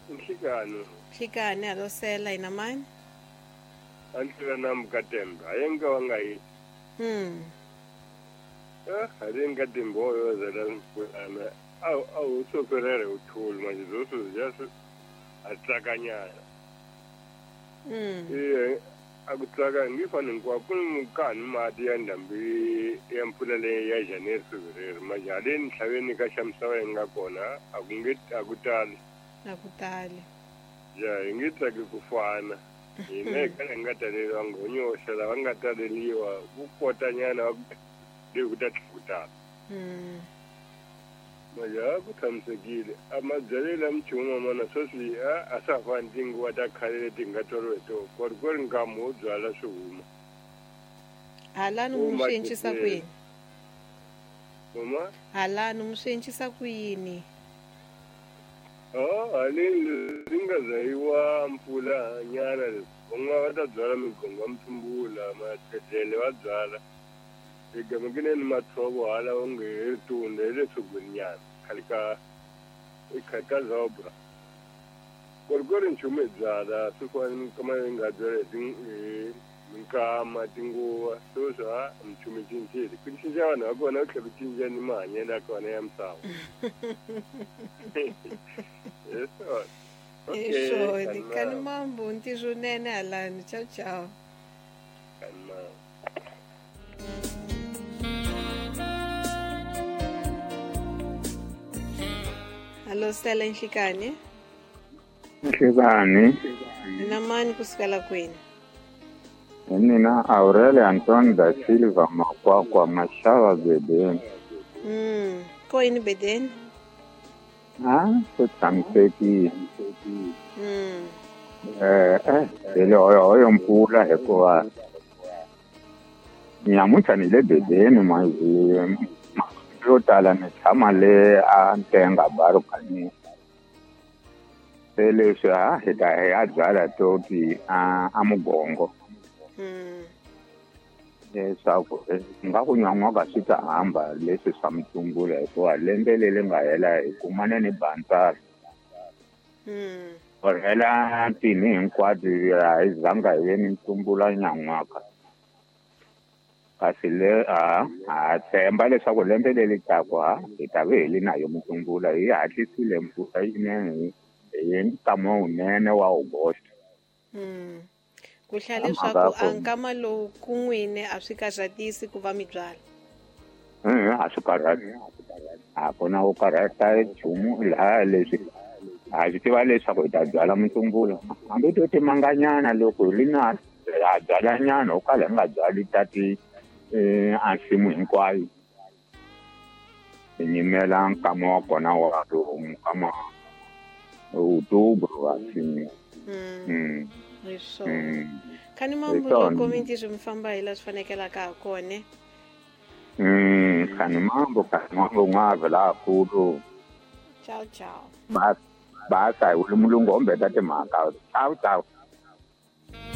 Nhlikani. Nhlikani alosela ina mani? Antlula na Mukatembe. Ayenga wangayi. Ayenga timboyo zela mpulana. Au soferere uthuli manje zoso just atsakanyana. Eh akutsaka ngifana ngikwakumkani mati ya ndhambi ya mpfula leyi ya January February manje haleni ntlhaveni ka xa misava yi nga kona akutali. Akutali. Ya hi nge tsaki ku fana. Hina hi kala hi nga taleriwa nghonyoxa lava nga taleriwa ku kotanyana leyi ku ta tlhakutala. Manje a ku tshamisekile. A mabyalelo ya minchumu mana sweswi a swa ha fani tinguva ta khale leti hi nga tswariwa hi tona. Ku ri nkamu wo byala swi huma. Halani mi swi encisa ku yini? Mama? Halani mi swi encisa ku yini? Haleni leswi nga zayiwa mpfula nyana leswi. Van'wana va ta byala migongo ya mtsumbula, matlhetlele va byala. Egamekineni mathovo hala onge hi ritunda hi le tshogweni nyana khale ka khale ka zobra. Ku ri nchumu hi byala swi fana minkama leyi nga byala hi minkama tinguva sweswi ha minchumu yi cincile. Ku cinca vanhu va kona ku tlhela ku cinca ni mahanyelo ya kona ya misava. Hi swona. Hi swona. Kani mambo ntirho nene halani. Ciao ciao. Kani mambo. Allo Stella Nhlikani. Nhlikani. Na mani kusukela kwini? Mina Aurelio Anton da Silva Makwakwa Mashava Bedeni. Ko yini Bedeni? Ku tshamisekile. Hi hoyo mpfula hikuva nyamuntlha ni le Bedeni manje yo tala ni tshama le a Ntenga Barukani. Se leswi hi ta hi ya byala to ti a mugongo. Leswaku nga ku nyan'waka swi ta hamba leswi swa mutsumbula hikuva lembe leri nga hela hi kumane ni bantsala. Ku hela tini hinkwato a hi zanga hi ve ni mtsumbula nyan'waka. Kasi le ha tshemba leswaku lembe leri taka hi ta ve hi li nayo mutsumbula hi hatlisile mpfula yinene hi nkama wunene wa August. Ku hlaya leswaku a nkama lowu ku n'wini a swi karhatisi ku va mi byala. A swi karhati. A ku na ku karhata nchumu laha leswi ha swi tiva leswaku hi ta byala mutsumbula. Hambi to timanganyana loko hi li na ha byala nyana ho kala hi nga byali tati a nsimu hinkwayo. Hi nyimela nkama wa kona wa nkama Outubro assim. Hi swona. Kani mambo loko mintirho mi famba hi laha swi fanekelaka ha kona. Kani mambo n'wavhe lahakulu. Ciao ciao. Basa hi mulungu hombeta timhaka. Ciao ciao.